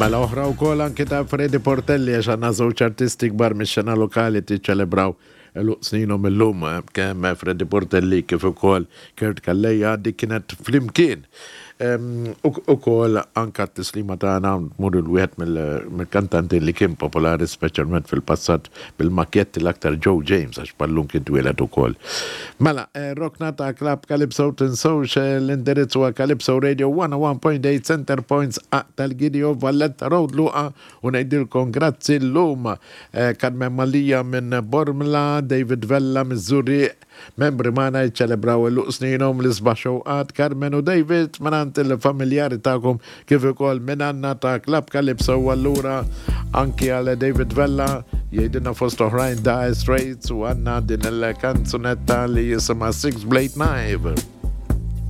Mela oħra wkoll anki ta' Freddy Portelli għax għandna żewġ artisti kbar mix-xena lokali tiċċelebraw għeluq sninhom illum kemm Freddy Portelli kif ukoll Kurt Calleja dik kienet flimkien. Ukoll anka t-tislima tagħna tmur il wieħed mill-kantanti li kien popolari speċjalment fil-passat bil-makjetti l-aktar Joe James għax bħal-lum kien twieled ukoll. Mela, rokna ta' Club Calypso tinsewx l-indirizz huwa Calypso Radio 101.8 Center Points Aq tal-Gidio Valletta Road Luqa u ngħidilkom grazzi llum Carmen Mallia minn Bormla, David Vella miż-Żurrieq, Membri magħna jiċċelebraw għeluq sninhom l-isbaħ xewqat Carmen u David mingħand il-familjari tagħkom kif ukoll minn għandna ta' Club Calypso u allura anki għal David Vella jgħidilna fost oħrajn Dire Straits u għandna din il-kanzunetta li jisimha Six Blade Knife.